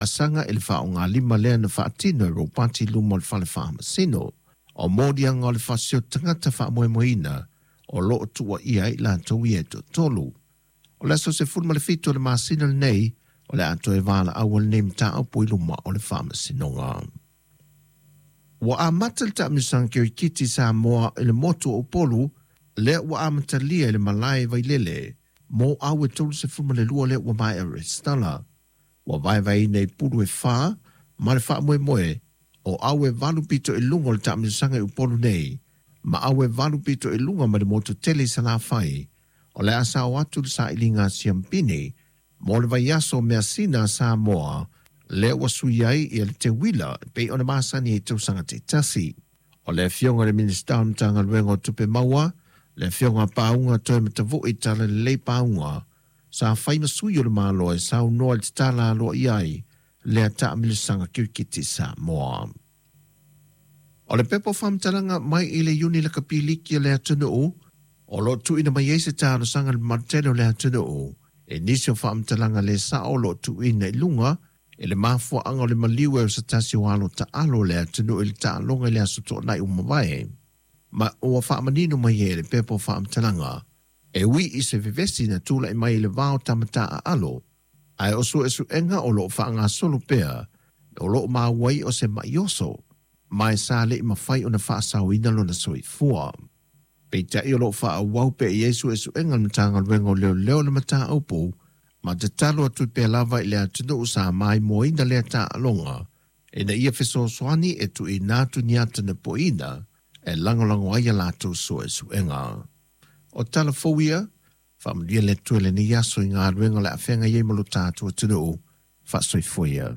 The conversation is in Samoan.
Asaga i le faaaogalima lea na faatino e Ropati i luma o le Fale Faamasino. O moliaga o le faasioto tagata faamoemoeina o lo o tuuaia ai i latou ia e toatolu. O le aso 17 o le masina lenei o le a toe valaau ai lenei mataupu i luma o le Faamasinoga. Ua amata le taamilosaga kirikiti Samoa i le motu o Upolu lea ua amatalia i le malae Vailele mo aue 32 lea ua maea resitala. Ua vaevaeina i pulu e fa ma le faamoemoe o aue valu pito i luga o le taamilosaga i Upolu nei ma aue valu pito i luga ma le motu tele i Salafai. O le a sao atu le sailiga a Siampini mo le vaiaso o measina a Samoa lea ua sui ai ia le teuila e pei ona masani ai tausaga taitasi. O le afioga i le Minisita o le Matagaluega o Tupe Maua, le afioga a Pauga Toematavui Talalelei Pauga, sa fai ma sui o le Malo e saunoa i le tatala aloaia ai lea taamilosaga kirikiti Samoa. O le pepa o faamatalaga mai i le Iuni Lakapi Liki a le atunuu o lo o tuuina mai ai se talosaga i le mamalu tele o le atunuu i nisi o faamatalaga le sao o lo o tuuina i luga i le mafuaaga o le maliu e o se tasi o alo taalo o le atunuu i le taaloga i le aso Toonai ua mavae. Ma ua faamanino mai ai e le pepa o faamatalaga e ui i se vevesi na tulai mai i le va o tama taaalo, ae o suesuega o lo o faagasolo pea o lo o maua ai o se ma'i oso, ma e sa le i mafai ona faasaoina lona soifua. Peitai o lo o faaauau pea i ai suesuega a le Matagaluega o Leoleo i le mataupu, ma tatalo atu pea lava i le atunuu sa maimoaina lea taaloga ina ia fesoasoani e tuuina atu ni ata napoina e lagolago ai a latou suesuega. O tala fou ia, faamanuia le Atua i lenei aso i galuega o le a feagai ai ma lo tatou atunuu. Faasoifua ia.